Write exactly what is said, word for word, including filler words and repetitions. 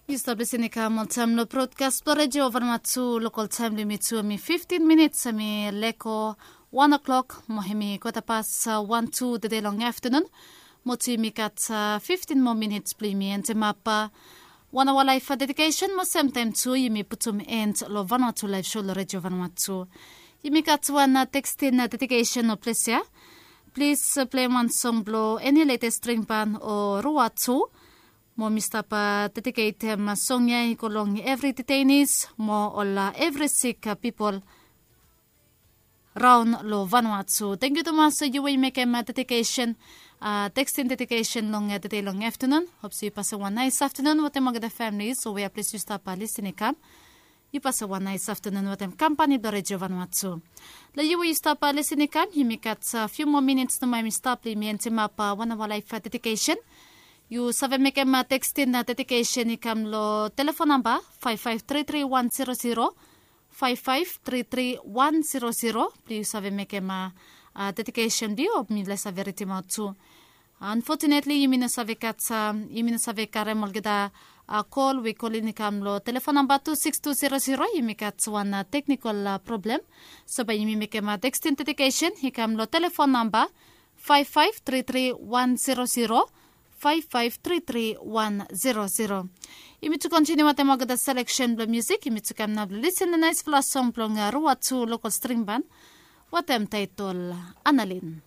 Yu stap lisin i kam oltaem long brodkas blong redio vanua tu. Lokal taem blong yumi tu hemi fiftin minits, hemi lego wan o'klok mo hemi kwata pas wan tu tede long aftanun. Mo tu yumi gat fiftin moa minits blong yumi endemap wan aoa laef dedikesen mo semtaem tu yumi putum en long vanua tu laef so long redio vanua tu. Yumi gat wan tekstin dedikesen o ples ya. Plis pleim wan song blong eni letes stringban o rua tu. Mo mi stap dediketem song ya i go long evri detainis mo ol evri sik pipol raon long vanua tu. Tangkiu tumas yu we yu mekem dedikesen, tekstin dedikesen long tede long aftanun. Hop se yu pasem wan naes aftanun wetem olgeta famili so we ya ples yu stap lisin i kam. Yu pasem wan naes aftanun wetem kampani blong redio vanua tu. Long yu we yu stap lisin i kam, yumi gat fiu moa minits nomo hemi stap blong yumi endemap wan aoa laef dedikesen. Yu save mekem tekstin dedikesen i kam long telefon namba faef faef tri tri wan zero zero, faef faef tri tri wan zero zero blong yu save mekem dedikesen blong yu o mi lae save ridimaot tu. Anfotunetli yumi no save gat, yumi no save karem olgeta kol we i kolin i kam long telefon namba tu siks tu zero zero. Yumi gat wan teknikol problem. So bae yumi mekem tekstin dedikesen i kam long telefon namba faef faef tri tri wan zero zero, faef faef tri tri wan zero zero. Yumi tu kontiniu wetem olgeta seleksen blong musik. Yumi tu kam nao blong lisin long naesfala song blong rua tu lokal stringban wetem taetol Analin.